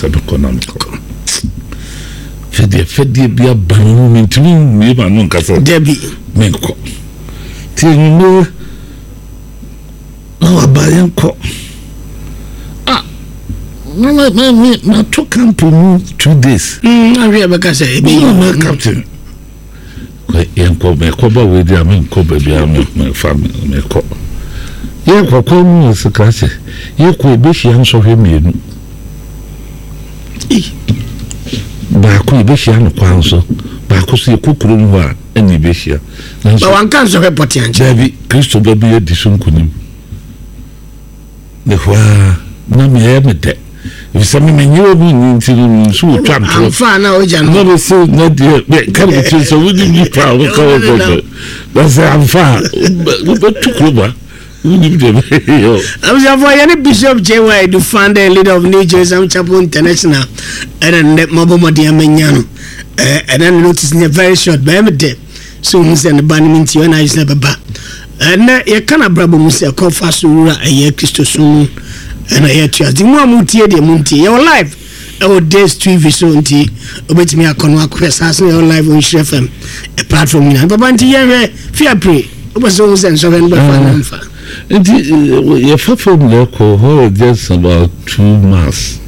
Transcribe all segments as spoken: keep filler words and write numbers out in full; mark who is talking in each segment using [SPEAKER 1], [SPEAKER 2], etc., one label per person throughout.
[SPEAKER 1] Sɛ mekɔ na mekɔ, fɛdeɛ fɛdeɛ bi aba no mu, mentumi mmie ma no nkasa.
[SPEAKER 2] Dabi.
[SPEAKER 1] Menkɔ, nti anwummerɛ na waba, yɛnkɔ. Ah, na ma ma me mato camp mu two days.
[SPEAKER 2] Ahwɛ, bɛka sɛ
[SPEAKER 1] ɛbɛyi na captain yɛnkɔ, mekɔ ba wei di a, menkɔ baabi a mefa mekɔ. Yɛkɔ kwan mu wɔ sika sɛ yɛkɔ, yɛbɛhyia nsɔhwɛ mmienu. Baako yɛbɛhyia no kwan so, baako so yɛkɔ kurom hɔ a ɛna yɛbɛhyia.
[SPEAKER 2] Nanso wanka nsɔhwɛ pɔte ankyɛ.
[SPEAKER 1] Daabi, Kristo ba bi adi so nkonim ne hɔ a na meyɛ me dɛ, efisɛ me menye wɔ mu nni, nti no nso wɔtwa ntorɔ.
[SPEAKER 2] Amfa na ogya no.
[SPEAKER 1] Na mese na deɛ ka ne tiri sɛ wode nipa a woka wɔ kɔkɔ na sɛ amfa a, wobɛtu kurom a wonim deɛ bɛyɛ.
[SPEAKER 2] Abusuafoɔ, yɛne Bishop J Y, the founder and leader of New Jerusalem Chapel International, ɛna nnɛ mabɔ mmɔden amanya no. Ɛna ne notice nyɛ very short, bɛyɛ me dɛ sɛ ohu sɛ ne ba no mu nti ɔna ayɛ sɛ bɛba. Ɛnɛ yɛka no abrabɔ mu sɛ ɛkɔfa so wura ɛyɛ Kristo som mu, ɛna yɛtua nti mu a motie deɛ montie, yɛwɔ live ɛwɔ Days T V so, nti wobɛtumi akɔ no akɔhwɛ saa so. Yɛwɔ live wɔ Nhyerɛ F M platform nyinaa. Papa, nti yɛhwɛ fiapre, wopɛ sɛ wohu sɛ nsɔhwɛ no bɛfa no mfa.
[SPEAKER 1] Nti yɛfa fam na ɛkɔ hɔ, just about two miles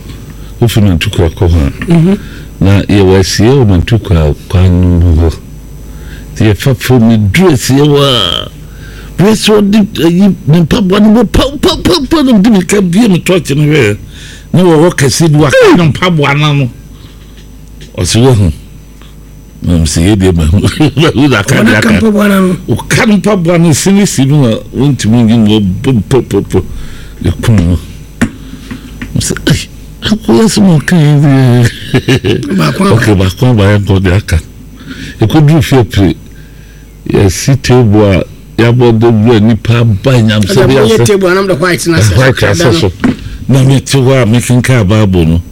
[SPEAKER 1] wofi Mantukwa kɔ hɔ a, na yɛwɔ asie wɔ Mantukwa kwan no mu hɔ. Nti yɛfa fam duru asie hɔ a, berɛ sɛ ɔde ayi ne mpaboa no mu pawpawpawpa na mede mirika bie me tɔɔkye no hwɛɛ na wɔwɔ kɛseɛ bi waka ne mpaboa no ano. Ɔsɛ wahu na mesɛ yɛ deɛ mahu mahu na aka deɛ aka ɔka no mpaboa no sene si mu a wɔntumi nyi mu, ɔbɔ pɔpɔpɔ ɛkum no. Mesɛ ai, akɔyɛ sɛ ma ɔka yɛ deɛ, ok, baako aba, yɛnkɔ deɛ aka. Ɛkɔduru fie pere, yɛsi table a yɛabɔ de wura, nipa aba nyamsɛ bi ase white asɛ so, na mete hɔ a mekenkan Bible no,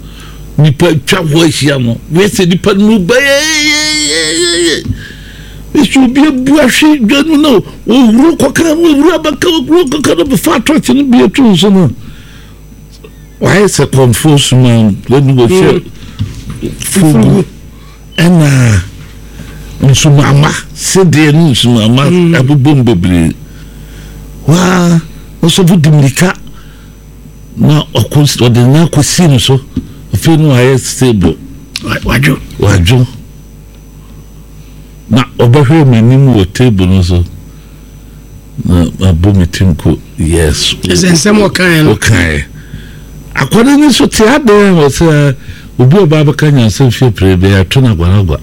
[SPEAKER 1] nipa twa hɔ ahyia no, wɛsɛ nipa no mu bɛyɛyɛyɛyɛ ɛsɛ obi abu ahwe dwa no na wɔwuro kɔka no, wɔwuro abɛka, wɔwuro kɔka no, bɛfa atɔkye no bi ato nso no, wayɛ sɛ kɔmfoɔ suma wɔne wɔhyɛ fugu ɛna nsumama sedeɛ ne nsumama abobom bebree. Waa ɔsɔfo di mirika na ɔkɔ, ɔde ne akɔsi no so. Afei no wayɛ stable.
[SPEAKER 2] Wadwo.
[SPEAKER 1] Wadwo na ɔbɛhwɛ m'anim wɔ table no so na mabɔ me tim ko, yes.
[SPEAKER 2] Ɛsɛ nsɛm ɔkaeɛ no.
[SPEAKER 1] Ɔkaeɛ akwadaa no nso te adan a ɔsɛ obi a ɔba abɛka nyansa fie pere bɛyɛ ato no agwaragwa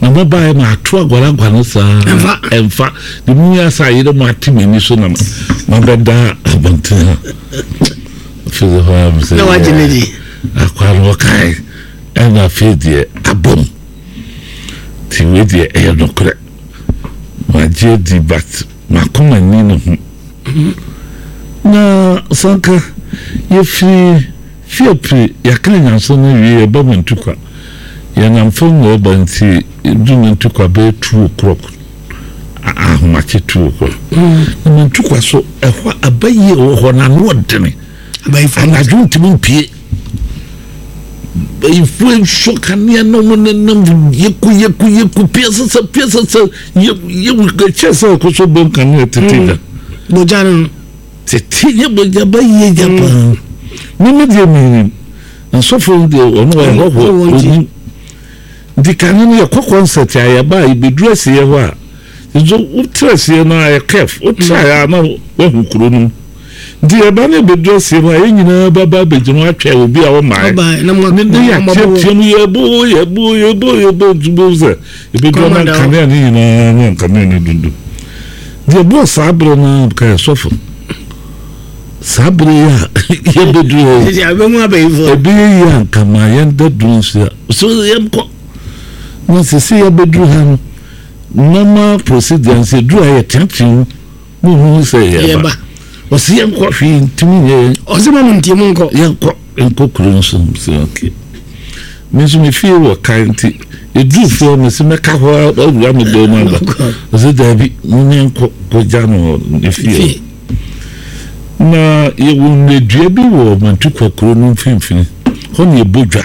[SPEAKER 1] na mɔbaeɛ ma ato agwaragwa no saa.
[SPEAKER 2] Ɛmfa.
[SPEAKER 1] Ɛmfa de mu yɛ asa ayerɛ mu ate m'ani so na mabɛda abɔnten ha. Afei de hɔ a mesɛ
[SPEAKER 2] na wagye ne di.
[SPEAKER 1] Akwa no ɔkae ɛna afei deɛ abom, nti wei deɛ ɛyɛ nokorɛ, magye adi, but makoma ni ne ho na sanka yɛfiri fiapiri, yɛaka nyansa no awie, yɛba Mantukwa, yɛnam fam na ɛba, nti du Mantukwa bɛyɛ two o'clock, ahomakye two o'clock, na Mantukwa so ɛhɔ abayie wɔ hɔ na ano ɔdene. Anadwo ntumi mpie, bayifoɔ nsɔ kanea na wɔn nenam yeku yeku yeku pia sasa pia sasa yɛ yɛ kyɛ sɛ ɛkɔ so bɔm kanea tete gya.
[SPEAKER 2] Bogya no.
[SPEAKER 1] Tete yɛ bogya ba yie gya paa. Mímí deɛ minim na sɔfo no deɛ ɔno wɔ hɔhoɔ onim, nti kane no yɛkɔ concert a, yɛba a yɛbɛduru asieɛ hɔ a, nso wotra asie no a yɛ kɛf wotra yɛ a na wahu kuro no mu, nti yɛba no yɛbɛduru asie hɔ a, yɛn nyinaa bɛba abɛgyina hɔ atwɛn obi a wɔmae ne ne yɛateatea mu, yɛbo yɛbo yɛbo yɛbo, nti bo sɛ yɛbɛduru na nkanea no nyinaa na nkanea no dundum deɛ ɛbɔɔ saa berɛ no ka yɛ sɔfo saa berɛ yi a yɛbɛduru hɔ yi, ɛbɛyɛ yi a nka ma yɛnda duru nso a so yɛnkɔ na sɛ sɛ yɛbɛduru ha no, normal procedure nso yɛduru ha, yɛteatea mu muhu sɛ yɛba. Ɔsɛ yɛnkɔ, hwee ntumi nyɛ yɛn.
[SPEAKER 2] Ɔsɛ ma mo ntie mu nkɔ.
[SPEAKER 1] Yɛnkɔ, nkɔ kuro nso sɛ okay, me nso me fie wɔ kan, nti yɛduru fie hɔ, mesi mɛka hɔ awura me dan mu aba. Ɔsɛ daabi, menyɛ nkɔ kɔgya no wɔ ne fie. Na yɛwɔ nnadua bi wɔ Mantukwa kuro no mfimfini hɔ na yɛbɔ dwa.